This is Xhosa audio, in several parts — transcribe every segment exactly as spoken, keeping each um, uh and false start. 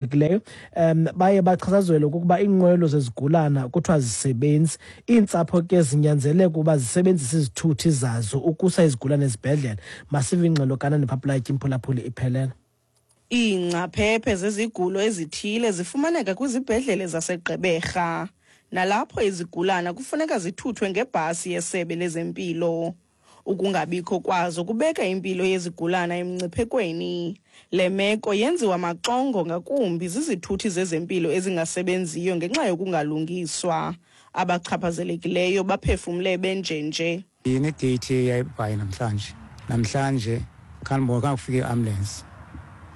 Leyo um baye bachazazelwe ukuba iinqwelo zezigulana kuthiwa zisebenzi. Iintsapho ke zinyanzeleka ukuba zisebenzise izithuthi zazo ukusa izigulane ezibhedlele. Masive ingxelo kaNandipha Plaatje, imphulaphuli iphelela. Iingcaphephe zezigulo ezithile zifumaneka kwizibhedlele zaseGqeberha, nalapho izigulana kufuneka zithuthwe ngebhasi yesebe lezempilo. Ukungabikho kwazo kubeka impilo yezigulana emngciphekweni. Le meko yenziwa maxongo ngakumbi zizithuthi zezempilo ezingasebenziyo ngenxa yokungalungiswa. Abachaphazelekileyo baphefumle benjenje. Ine-date yayibhayi namhlanje. Namhlanje khanibona khange kufike i-ambulance.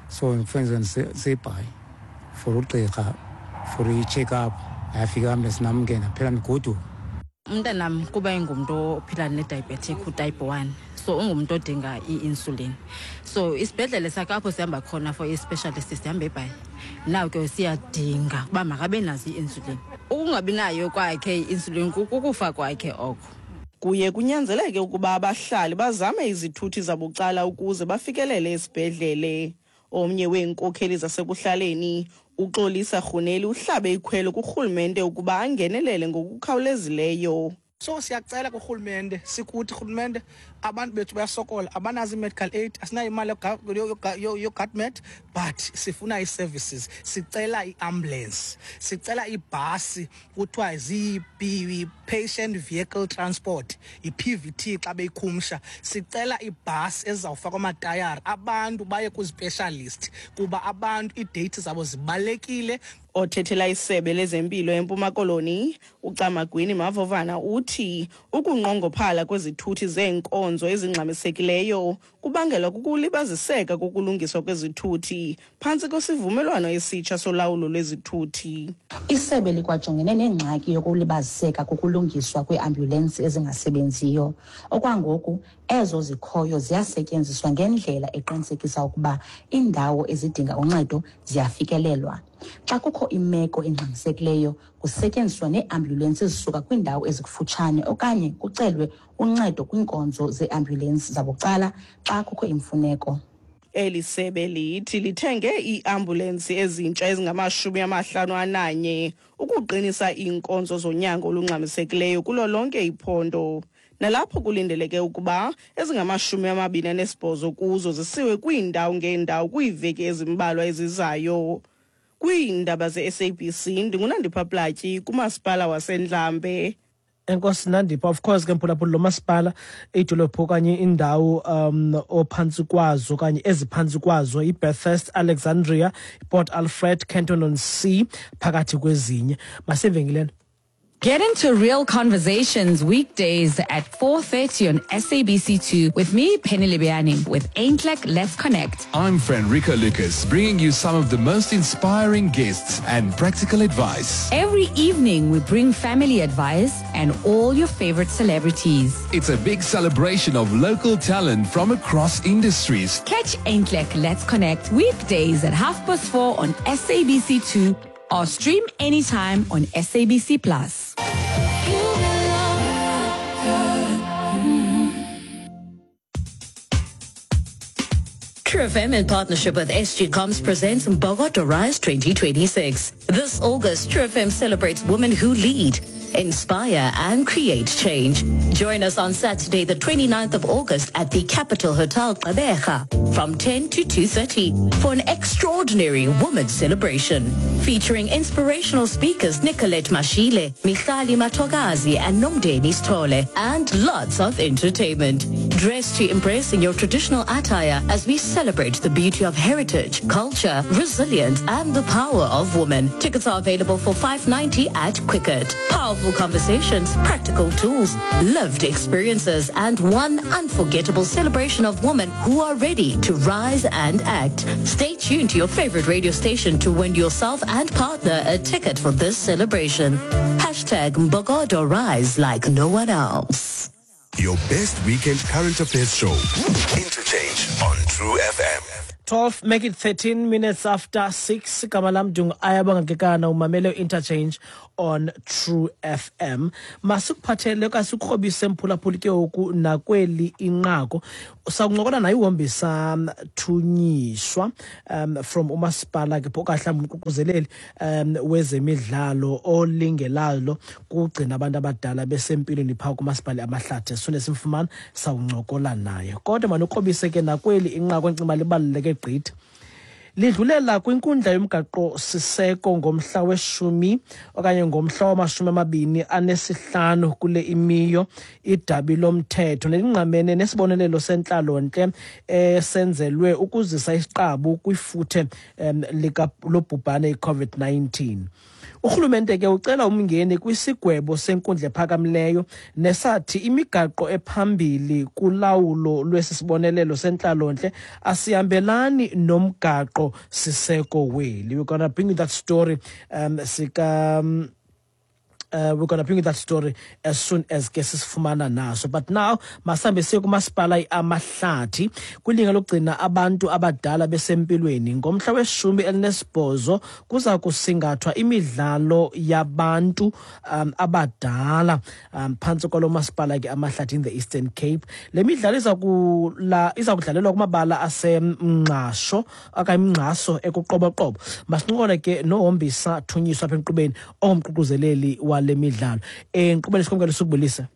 So kufanele seyibhayi for ugqirha, for i-check up. Ayafika i-ambulance nam ke ndaphela ndigoduka. Umntanam kuba engumntu ophila ne-diabetic u-type one, so ungumntu odinga i-insulin. So isibhedlele sakhe apho sihamba khona for i-specialist sihamba eBhayi. Now ke siyadinga uba makabe nazo i-insulin. Ukungabi nayo kwakhe i-insulin kukufa kwakhe oko. Kuye kunyanzeleke ukuba abahlali bazame izithuthi zabucala ukuze bafikelele esibhedlele. Omnye weenkokheli zasekuhlaleni, uXolisa Rhuneli, uhlabe ikhwelo kurhulumente ukuba angenelele ngokukhawulezileyo. So siyacela kurhulumente, sikuthi rhulumente, abantu bethu bayasokola, abanazo i-medical aid, asinayo imali yoGatmed, but sifuna ii-services. Sicela i-ambulance, sicela ibhasi kuthiwa zii-patient vehicle transport, i-P V T xa beyikhumsha. Sicela ibhasi ezizawufakwa amatayara, abantu baye kwi-specialist kuba abantu ii-dates zabo zibalulekile. Othethela isebe lezempilo eMpuma Koloni, uCamagwini Mavovana, uthi ukunqongophala kwezithuthi zeenkonzo ezingxamisekileyo kubangelwa kukulibaziseka kokulungiswa kwezithuthi phantsi kwesivumelwano esitsha solawulo lwezithuthi. Isebe likwajongene nengxaki yokulibaziseka kokulungiswa kweeambulensi ezingasebenziyo. Okwangoku ezo zikhoyo ziyasetyenziswa ngendlela eqinisekisa ukuba iindawo ezidinga uncedo ziyafikelelwa. Xa kukho imeko engxamisekileyo, kusetyenziswa neeambulensi ezisuka kwiindawo ezikufutshane okanye kucelwe uncedo kwiinkonzo zeeambulensi zabucala xa kukho imfuneko. Eli sebe lithi lithenge iiambulensi ezintsha ezingamashumi amahlanu ananye ukuqinisa iinkonzo zonyango olungxamisekileyo kulo lonke iphondo, nalapho kulindeleke ukuba ezingamashumi amabini anesibhozo kuzo zisiwe kwiindawo ngeendawo kwiiveki ezimbalwa ezizayo. Kwiindaba ze-S A B C, ndinguNandipha Platyi kumasipala waseNdlambe. Enkosi, Nandipha. Of course ke, mphulaphuli, lo masipala, iidolophu okanye indawo um ophantsi kwazo okanye eziphantsi kwazo iBathurst, Alexandria, Port Alfred, Kenton on Sea, phakathi kwezinye. Masivenkileni. Get into real conversations weekdays at four thirty on S A B C two with me, Penny Libiani, with Aintlek Let's Connect. I'm Frederico Lucas, bringing you some of the most inspiring guests and practical advice. Every evening, we bring family advice and all your favorite celebrities. It's a big celebration of local talent from across industries. Catch Aintlek Let's Connect weekdays at half past four on S A B C two or stream anytime on S A B C Plus. True F M in partnership with S G Comms presents Mbokodo Rise twenty twenty-six. This August, True F M celebrates women who lead, inspire and create change. Join us on Saturday, the 29th of August at the Capital Hotel Gqeberha from ten to two thirty for an extraordinary women's celebration featuring inspirational speakers Nicolette Mashile, Mihlali Matogazi and Nomdeni Stole, and lots of entertainment. Dress to impress in your traditional attire as we celebrate the beauty of heritage, culture, resilience and the power of women. Tickets are available for five ninety at Quicket. Powerful conversations, practical tools, lived experiences and one unforgettable celebration of women who are ready to rise and act. Stay tuned to your favorite radio station to win yourself and partner a ticket for this celebration. Hashtag Mbokodo Rise like no one else. Your best weekend current affairs show. Interchange on True F M. twelve make it thirteen minutes after six. Igama lam ndingu-Ayabonga Kekana, umamele Interchange on True F M. Masikuphathele okanye sikukrobise mphulaphuli ke ngoku nakweli inqaku. Sakuncokola naye uHombisa Thunyiswa um from umasipala ke okanye mhlawumbi umququzeleli um wezemidlalo olingelalo kugcina abantu abadala besempilweni phaa kumasipala Amahlathi. Sifune simfumane sawuncokola naye. Kodwa manukrobise ke nakweli inqaku encinci libaluleke gqithi. Lidlulela kwinkundla yomgaqo siseko ngomhla weshumi okanye ngomhla wamashumi amabini anesihlanu kule imiyo idabi lomthetho nelingqamene nesibonelelo sentlalontle esenzelwe ukuzisa isiqabu kwifuthe lika lobhubhane i-COVID nineteen. Urhulumente ke ucela umngeni kwisigwebo senkundla ephakamileyo nesathi imigaqo ephambili kulawulo lwesi sibonelelo sentlalontle asihambelani nomgaqo siseko weli. We're gonna bring you that story um sika um, Uh, we're gonna bring you that story as soon as ke sisifumana naso. But now masambe siye kumasipala Amahlathi kwilinga lokugcina abantu abadala besempilweni. Ngomhla weshumi elinesibhozo kuza kusingathwa imidlalo yabantu um, abadala um, phantsi kwalo masipala ke Amahlathi in the Eastern Cape. Le midlalo iza kula iza kudlalelwa kumabala aseMngqasho okanye Mngqaso ekuQoboqobo. Masincokole ke noHombisa Thunyiswa apha enkqubeni ongumququzeleli wa le midlalo. Eh nkqubeni sikhomkele sukubulisa.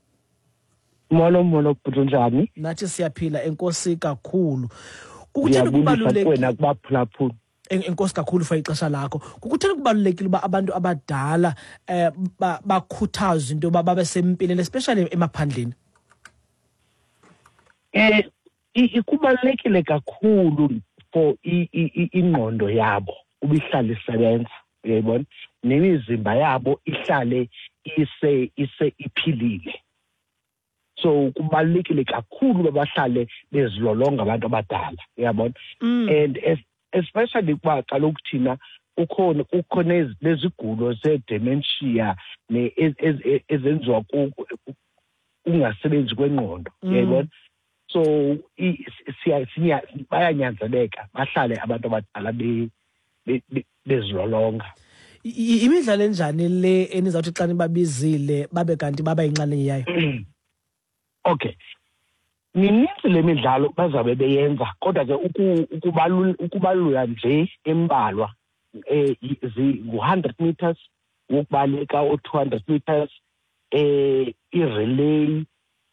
Molo molo bhuti, njani? Nathi siyaphila, enkosi kakhulu. Kukutheni kubalulekile kuwena kubaphulaphula? Enkosi kakhulu for ixesha lakho. Kukutheni kubalulekile uba abantu abadala eh bakhuthazwe into yoba babe sempilweni especially emaphandleni? Eh ikubalulekile kakhulu for ingqondo yabo ubihlale isebenza, uyayibona, nemizimba yabo ihlale ise ise iphilile. So kubalulekile kakhulu babahlale bezilolonga abantu abadala, uyabona. And especially kuba kaloku thina ukhona kukhona nezigulo ze-dementia ezenziwa kungasebenzi kwengqondo, uyayibona. So siya bayanyanzeleka bahlale abantu abadala bezilolonga. Imidlalo enjani le enizawuthi xa nibabizile babe kanti baba yinxalenye yayo? Okay, mininzi le midlalo bazabe beyenza, kodwa ke ukubalula nje embalwa eh ngu-hundred meters wokubaleka, o-two hundred meters, eh i-relay,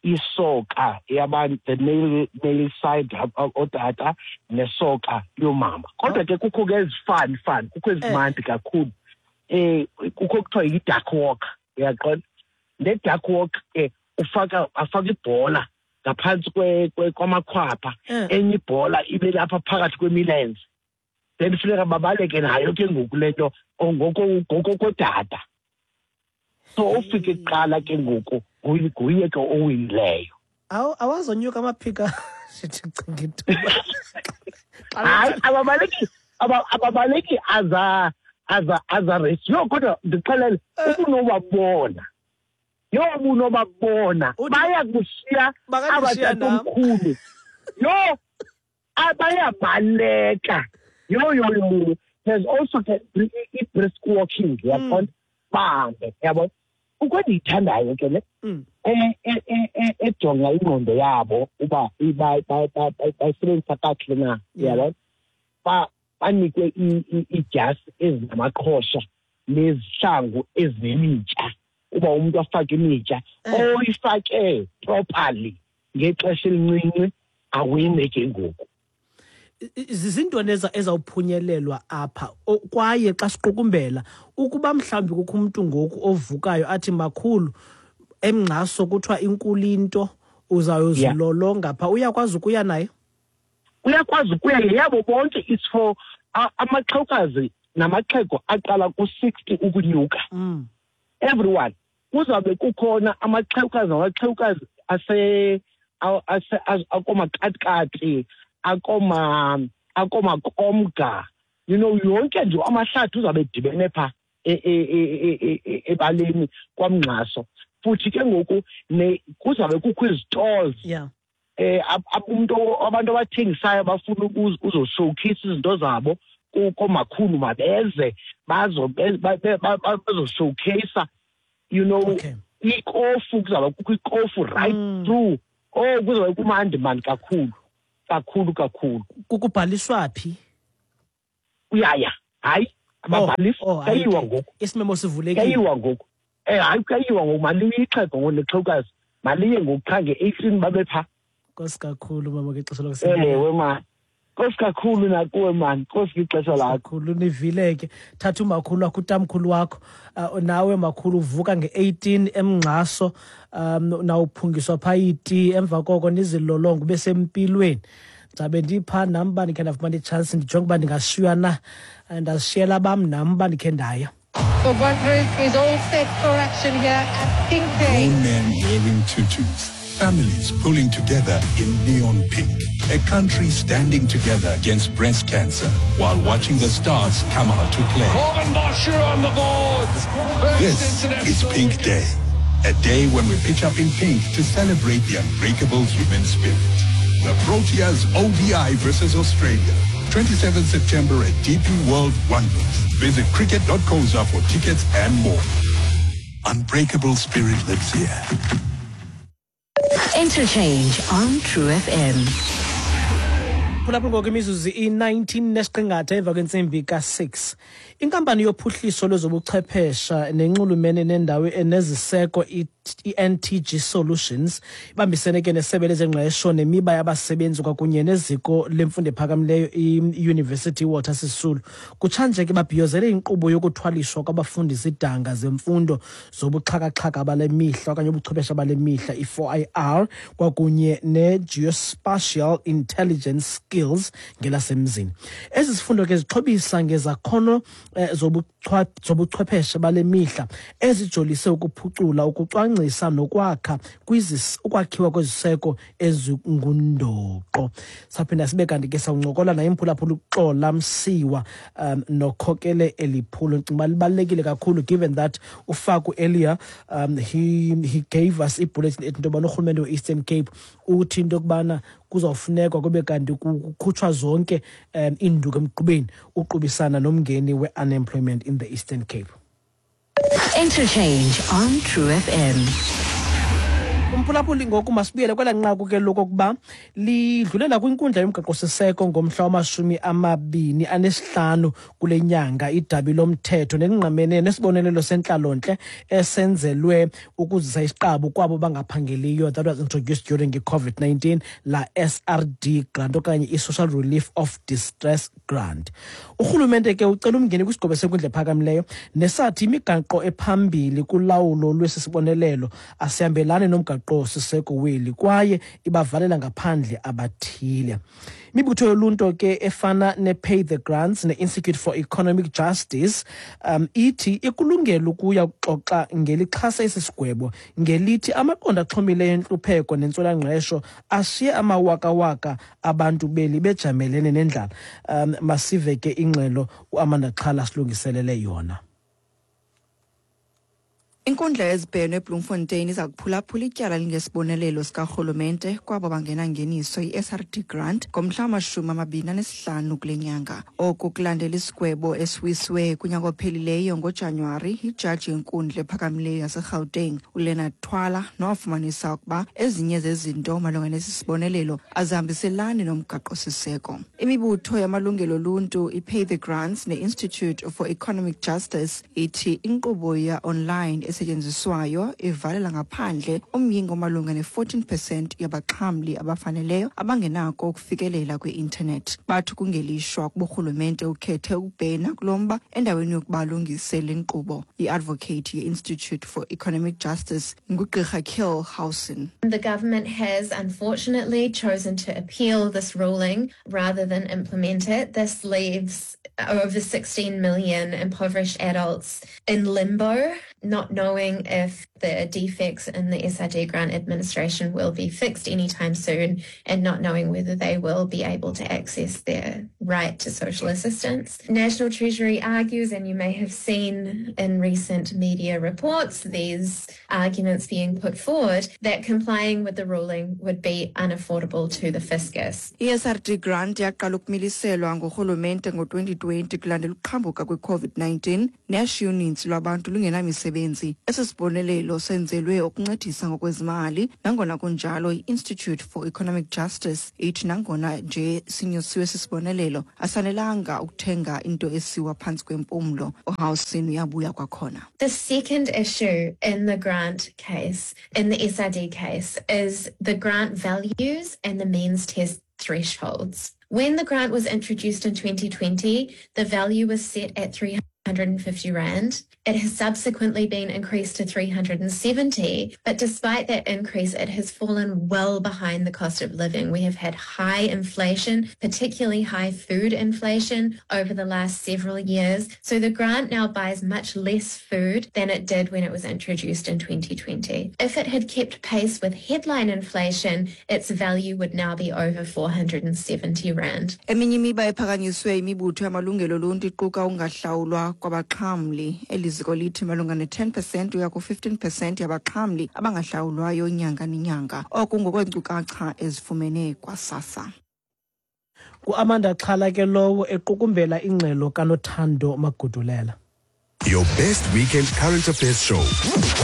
isoka yabantu, the male male side otata nesoka yomama. Kodwa ke kukho ke ezifani fani, kukho ezimandi kakhulu. Eh kukho kuthiwa yi-duck walk, uyaqonda. Le duck walk ke ufaka afaka ibhola ngaphansi kwamakhwapha, enye ibhola ibe lapha phakathi kwemilenze, then funeka babaleke nayo ke ngoku le nto ngokokodada. So ufike kuqala ke ngoku nguye ke owinileyo. Awazonyuka amaphika sithi cinga ithuba. Hayi, ababaleki ababaleki aza aza aza race. Yo kodwa ndixelele ubunobabona. Yo ubunobabona bayakushiya abatatomkhulu. Yo abayabaleka. Yo yo yo. There's also the brisk walking, yabona. Bahambe, yabona. Kukho endiyithandayo ke le ejonga ingqondo yabo uba bayisebenzisa kakuhle na, yabona. Banikwe iidyasi ezinamaqhosha nezihlangu ezinemitya, uba umntu afake imitya oyifake properly ngexesha elincinci awine ke ngoku. Zizintoni ezawuphunyelelwa apha? Kwaye xa siqukumbela, ukuba mhlawumbi kukho umntu ngoku ovukayo athi makhulu eMngqaso kuthiwa inkulu into uzayozilolonga pha, uyakwazi ukuya naye? Uyakwazi ukuya yabo bonke. It's for amaxhewukazi namaxhego aqala ku-sixty ukunyuka. Everyone. Kuzabe kukhona amaxhewukazi namaxhewukazi ase ase akomakatikati, akoma akomakomga, you know, yonke nje amahlathi uzabe edibene pha ebaleni kwaMngqaso. Futhi ke ngoku kuzabe kukho izitolls yeah. Eh umuntu abantu abathengisayo bafuna ukuzo-showcase izinto zabo komakhulu mabeze bazo bazo-showcase, you know. Okay. Ikofu kuzaba kukho ikofu right mm. through. Oh kuzoba kumandi mani kakhulu kakhulu kakhulu. Kukubhaliswa phi? Uyaya hayi ababhalisi oh, oh, kayiwa ngoku isimemo sivulekile kayiwa ngoku eh hayi kayiwa ngoku maliye ixhego ngonexhewukazi maliye ngokuqha nge-eighteen babe pha. Nkosi kakhulu mama ngexesha lokusebenza. Ewe man, nkosi kakhulu nakuwe man, nkosi ngexesha lakho. Kakhulu nivile ke. Thatha umakhulu wakho utamkhulu wakho uh, nawe makhulu uvuka nge-eighteen emngxaso um nawuphungiswa pha iti emva koko nizilolongo ube sempilweni. Ndizabe ndipha nam uba ndikhe ndafumana itshansi ndijonge uba ndingashiywa na ndazishiyela bam nam uba ndikhe ndaya. The one group is all set for action here at Pink Day. Grown men wearing tutus, families pulling together in neon pink, a country standing together against breast cancer while watching the stars come out to play. Corbin Bosher on the board. This is Pink Day, a day when we pitch up in pink to celebrate the unbreakable human spirit. The Proteas O D I versus Australia, twenty-seventh September at D P World Wonders. Visit cricket dot co za for tickets and more. Unbreakable spirit lives here. Interchange on True F M. Phulaphula ngoku imizuzu i-nineteen nesiqingatha emva kwentsimbi ka-six. Inkampani yophuhliso lwezobuchwephesha nenxulumene nendawo eneziseko i-N T G Solutions ibambisene ke nesebe lezengqesho nemiba yabasebenzi kwakunye neziko lemfundo ephakamileyo i-University Walter Sisulu. Kutshanje ke babhiyozele inkqubo yokuthwaliswa kwabafundi izidanga zemfundo zobuxhakaxhaka bale mihla okanye ubuchwephesha bale mihla i-four I R kwakunye ne-Geospatial Intelligence Skills ngelasemzini. Ezi zifundo ke zixhobisa ngezakhono eh, zobuchwepheshe bale mihla ezijolise ukuphucula ukucwangcisa nokwakha ukwakhiwa kweziseko ezingundoqo. Saphinda sibe kanti ke sawuncokola naye imphulaphula uXola Msiwa um, nokhokele eliphulo. Ndicinga uba libalulekile kakhulu given that uFaku earlier um, he, he gave us ibulletin ethi into yobana urhulumente we-Eastern Cape uthi into yokubana kuzawufunekwa kube kanti kukhutshwa zonke um, iinduku emgqubeni uqubisana nomngeni we-unemployment in the Eastern Cape. Interchange on True F M. Umphulaphuli ngoku masibuyele kwela nqaku ke lokokuba lidlulela kwinkundla yomgaqo-siseko ngomhla wamashumi amabini anesihlanu kule nyanga idabi lomthetho nelingqamene nesibonelelo sentlalontle esenzelwe ukuzisa isiqabu kwabo bangaphangeliyo that was introduced during i-COVID nineteen la S R D grant okanye i-Social Relief of Distress Grant. Urhulumente ke ucela umngeni kwisigwebo senkundla ephakamileyo nesathi imigaqo ephambili kulawulo lwesi sibonelelo asihambelani nomgaqo siseko weli kwaye ibavalela ngaphandle abathile. Imibutho yoluntu ke efana ne-Pay the Grants ne-Institute for Economic Justice um, ithi ikulungela ukuya kuxoxa ngelixhasa esi sigwebo ngelithi amaqondo axhomileyo entlupheko nentswelangqesho ashiye amawakawaka abantu beli bejamelene nendlala. Um, masive ke ingxelo uAmanda Xhala silungiselele yona. Inkundla yezibheno eBloemfontein iza kuphulaphula ityala lingesibonelelo sikarhulumente kwabo bangenangeniso i-S R D grant ngomhla wamashumi amabini anesihlanu kule nyanga. Oku kulandela isigwebo esiwiswe kunyaka ophelileyo ngoJanuwari yijaji yenkundla ephakamileyo yaseGauteng uLeonard Twala nowafumanisa ukuba ezinye zezinto malunga nesi sibonelelo azihambiselani nomgaqo-siseko. Imibutho yamalungelo oluntu iPay the Grants ne-Institute for Economic Justice ithi inkqubo ya-online esetyenziswayo ivalela ngaphandle umyinge omalunga ne-fourteen percent yabaxhamli abafaneleyo abangenako ukufikelela kwi-intanethi. Bathi kungelishwa kuba urhulumente ukhethe ukubhena kulo mba endaweni yokuba alungise le nkqubo. I-advocate ye-Institute for Economic Justice nguGqirha Kiel Howson. The government has unfortunately chosen to appeal this ruling rather than implement it. This leaves over sixteen million impoverished adults in limbo, not knowing knowing if the defects in the S R D grant administration will be fixed anytime soon and not knowing whether they will be able to access their right to social assistance. National Treasury argues, and you may have seen in recent media reports these arguments being put forward, that complying with the ruling would be unaffordable to the fiscus. I-S R D grant yaqala ukumiliselwa ngurhulumente ngo-twenty twenty kulandela ukuqhambuka kwe-COVID nineteen neyashiya uninzi lwabantu lungenamisebenzi. Esi sibonelelo senzelwe ukuncedisa ngokwezimali. Nangona kunjalo, i-Institute for Economic Justice ithi nangona nje sinyusiwe sisibonelelo, asanelanga ukuthenga into esiwa phantsi kwempumlo. UHowson uyabuya kwakhona. The second issue in the grant case, in the S R D case, is the grant values and the means test thresholds. When the grant was introduced in twenty twenty, the value was set at three hundred and fifty rand. It has subsequently been increased to three hundred and seventy, but despite that increase, it has fallen well behind the cost of living. We have had high inflation, particularly high food inflation over the last several years. So the grant now buys much less food than it did when it was introduced in twenty twenty. If it had kept pace with headline inflation, its value would now be over four hundred and seventy rand. Eminye imiba ephakanyiswe imibutho yamalungelo oluntu iquka ukungahlawulwa kwabaxhamli. Eli ziko lithi malunga ne-ten percent uya ku-fifteen percent yabaxhamli abangahlawulwayo nyanga nenyanga. Oku ngokweenkcukacha ezifumene kwaSASSA. Ku-Amanda Xhala ke lowo equkumbela ingxelo kaNothando Magudulela. Your best weekend current affairs show,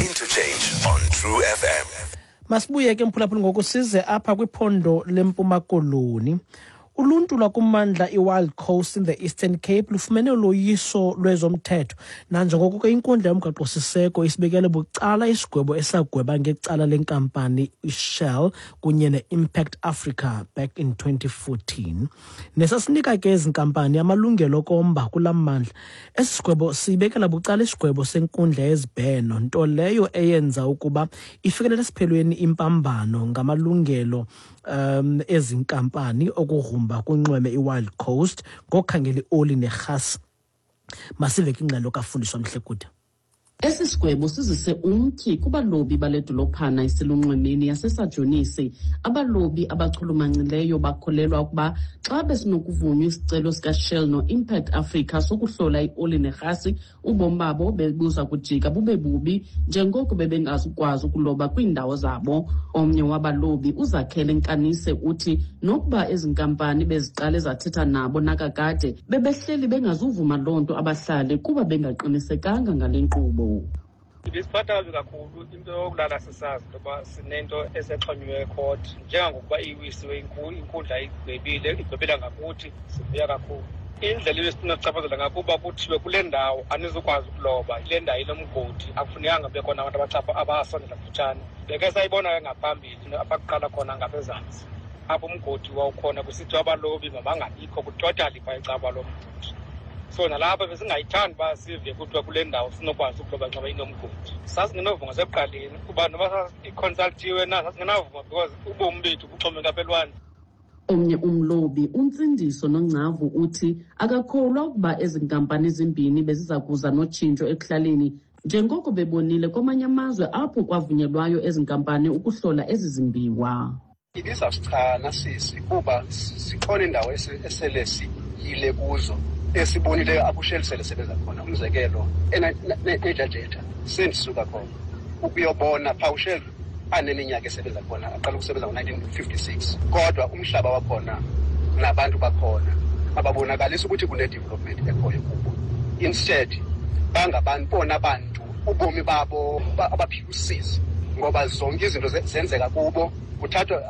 Interchange on True F M. Masibuye ke mphulaphuli ngoku size apha kwiphondo leMpuma Koloni. Uluntu lwakumandla iWild Coast in the Eastern Cape lufumene uloyiso lwezomthetho nanjengoko ke inkundla yomgaqo-siseko isibekele bucala isigwebo esagweba ngecala lenkampani iShell kunye ne-Impact Africa back in twenty fourteen. Nesasinika ke ezi nkampani amalungelo okomba kula mandla. Esi sigwebo sibekela bucala isigwebo senkundla yezibheno, nto leyo eyenza ukuba ifikelele esiphelweni impambano ngamalungelo um ezinkampani okugrumba kunxweme iWild Coast ngokukhangela ioli nerhasi. Masive ke ingxelo kaFundiswa Mhlekude. Esi sigwebo sizise umtyhi kubalobi bale dolophana iselunxwemeni yaseSajonisi. Abalobi abachulumancileyo bakholelwa ukuba xa besinokuvunywa isicelo sikaShell no-Impact Africa sokuhlola ioli nerhasi, ubomi babo bebuza kujika bube bubi njengoko bebengazukwazi ukuloba kwiindawo zabo. Omnye wabalobi uZakhele Nkanise uthi nokuba ezi nkampani beziqale zathetha nabo nakakade, bebehleli bengazuvuma loo nto abahlali kuba bengaqinisekanga ngale nkqubo. Ibisiphatha kabi kakhulu into yokulala sisazi into yoba sinento esexhonyiweyo ekhoti. Njengangokuba iwisiwe inkundla igwebile, igwebela ngakuthi, sivuya kakhulu. Indlela ebesinokuchaphazela ngakuba kuthiwe kule ndawo anizukwazi ukuloba, ile ndawo inomgodi, akufunekanga kube khona abantu abachapha abasondela kufutshane. Beke sayibona ke ngaphambili apha kuqala khona ngapezantsi, apho umgodi wawukhona kusithiwa abalobi mabangabikho kutotali phaa ecaba lomgodi. So nalapha besingayithandi uba sive kuthiwa kule ndawo sinokwazi ukuloba nxa inomgodi. Sasingenovuma sekuqaleni kuba noba iconsultiwe na sasingenavuma because ubomi bethu buxhomekeke apha elwandle. Omnye umlobi uNtsindiso Nongcavu uthi akakholwa ukuba ezi nkampani zimbini beziza kuza notshintsho ekuhlaleni njengoko bebonile kwamanye amazwe apho kwavunyelwayo ezi nkampani ukuhlola ezi zimbiwa. Ibizawusichana sisi kuba zikhona iindawo esele siyile kuzo esibonileyo apho uShell sele sebenza khona. Umzekelo eNajajetha sendisuka khona ukuyobona phaa uShell aneminyaka esebenza khona, aqala ukusebenza ngo-nineteen fifty-six, kodwa umhlaba wakhona nabantu bakhona ababonakalisi ukuthi kune-development ekhoyo kubo. Instead bangabantu bona bantu ubomi babo abaphila usizi ngoba zonke izinto zenzeka kubo. Kuthathwa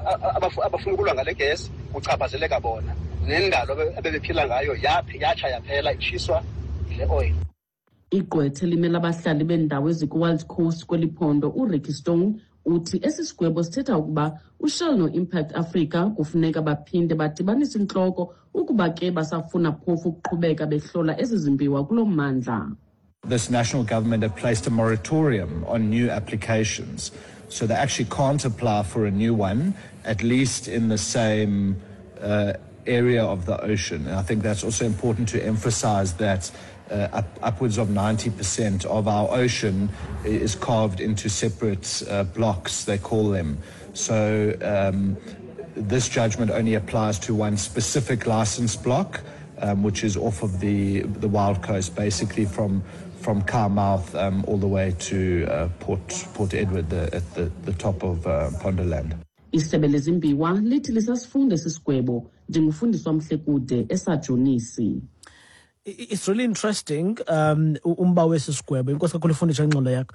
abafuna ukulwa ngale gesi kuchaphazeleka bona, nendalo abebephila ngayo yatsha yaphela itshiswa yile oil. Igqwethe limela abahlali bendawo ezikuWild Coast kweli phondo uRicky Stone uthi esi sigwebo sithetha ukuba uShell no-Impact Africa kufuneka baphinde badibanise intloko ukuba ke basafuna phofu ukuqhubeka behlola ezi zimbiwa kulo mmandla. This national government have placed a moratorium on new applications, so they actually can't apply for a new one, at least in the same uh, area of the ocean. And I think that's also important to emphasize that Uh, up, upwards of ninety percent of our ocean is carved into separate uh, blocks, they call them. So um, this judgment only applies to one specific license block, um, which is off of the, the Wild Coast, basically from, from Carmouth um, all the way to uh, Port, Port Edward, the, at the, the top of uh, Pondoland. Isebe lezimbiwa lithi lisasifunda sisigwebo ndingufundiswa Mhlekude eSajonisi. It's really interesting, um, umba wesi sigwebo. Inkosi kakhulu ifundisha ingxolo yakho.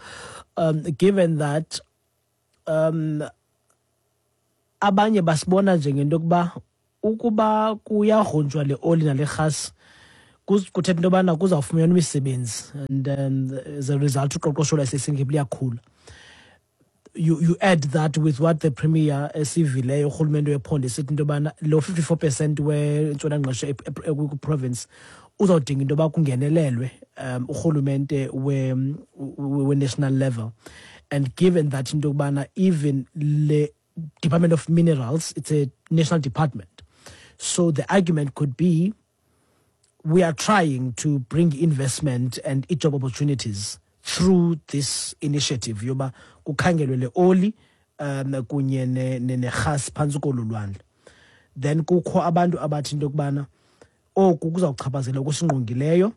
Um, given that um, abanye basibona njengento yokuba ukuba kuyagrunjwa le oli nale rhasi kuthetha into yobana kuzawufunyanwa imisebenzi, and um, as a result uqoqosho lwaseSingapore liyakhula. You, you add that with what the premier esivileyo urhulumente wephondo esithi into yobana lo fifty-four percent wentswelangqesho kwi-province uzawudinga into yoba kungenelelwe um urhulumente we-national level. And given that into yokubana even le Department of Minerals, it's a national department, so the argument could be we are trying to bring investment and job opportunities through this initiative yoba kukhangelwe le oli um kunye nerhasi phantsi kolu lwandle. Then kukho abantu abathi into yokubana oku kuzawuchaphazela okusingqongileyo,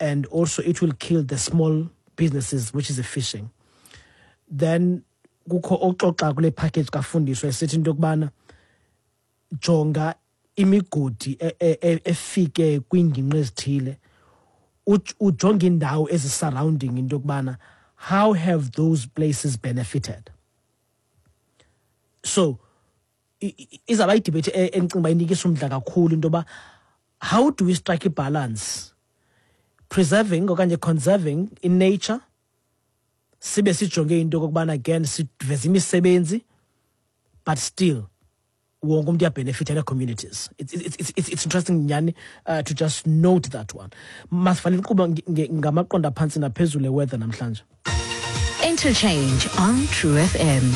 and also it will kill the small businesses, which is the fishing. Then kukho oxoxa kule package kafundiswa esithi into yokubana jonga imigodi efike kwiingingqi ezithile, ujonge indawo ezi-surrounding into yokubana how have those places benefited. So izawuba idebate endicinga uba inikisa umdla kakhulu into yoba how do we strike a balance, preserving okanye conserving in nature, sibe sijonge into yokokubana again siveze imisebenzi, but still wonke umntu uyabenefita communities. It's, it's, it's, it's, it's interesting nyani uh, to just note that one. Masifanele inkqubo ngamaqonda phantsi naphezulu eweather namhlanje. Interchange on True F M.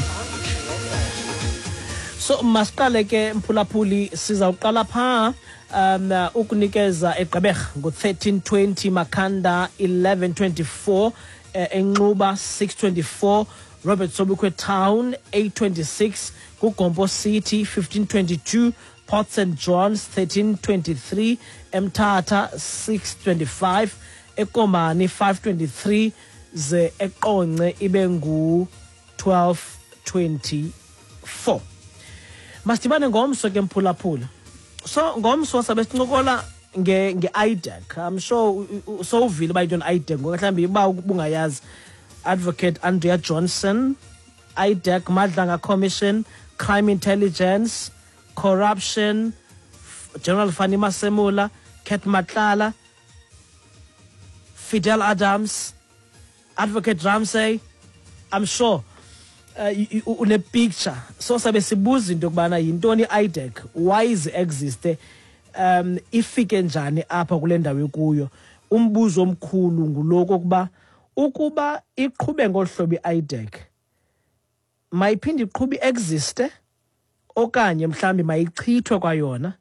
So masiqale ke mphulaphuli, sizawuqala phaa um ukunikeza eGqeberha ngo thirteen twenty, Makhanda eleven twenty-four, Enxuba six twenty-four, Robert Sobukwe Town eight twenty-six, Kugompo City fifteen twenty-two, Port Saint John's thirteen twenty-three, Mthatha six twenty-five, Ekomani five twenty-three, ze Eqonce ibe ngu twelve twenty-four. Masidibane ngomso ke mphulaphula. So ngomso sabe sincokola nge nge I D E C. I'm sure sowuvile uba yintoni I D E C, ngoba mhlawumbi uba ubungayazi. Advocate Andrea Johnson, I D E C, Madlanga Commission, Crime Intelligence, Corruption, General Fannie Masemola, Cat Matlala, Fidel Adams, Advocate Ramsey. I'm sure uh, une picture. So sabe sibuza into yokubana yintoni I D E C, why is it exist, um ifike njani apha kule ndawo ekuyo. Umbuzo omkhulu nguloko kuba ukuba iqhube ngolu hlobo i-I D E C, mayiphinde iqhube existe okanye mhlambi mayichithwe kwayona.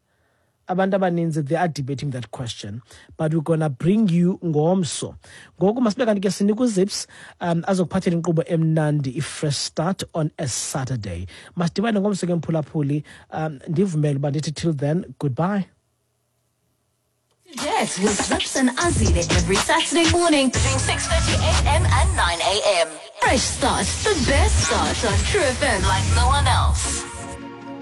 Abantu abaninzi, they are debating that question, but we're gonna bring you ngomso. Ngoku masibe kanti ke sinika uZips um azokuphathela inkqubo emnandi i-fresh start on a Saturday. Masidibane ngomso ke mphulaphuli, um ndivumele uba ndithi till then, goodbye. Yes, with Zips and Azile every Saturday morning between six thirty a m and nine a m. Fresh Start, the best start on True F M like no one else.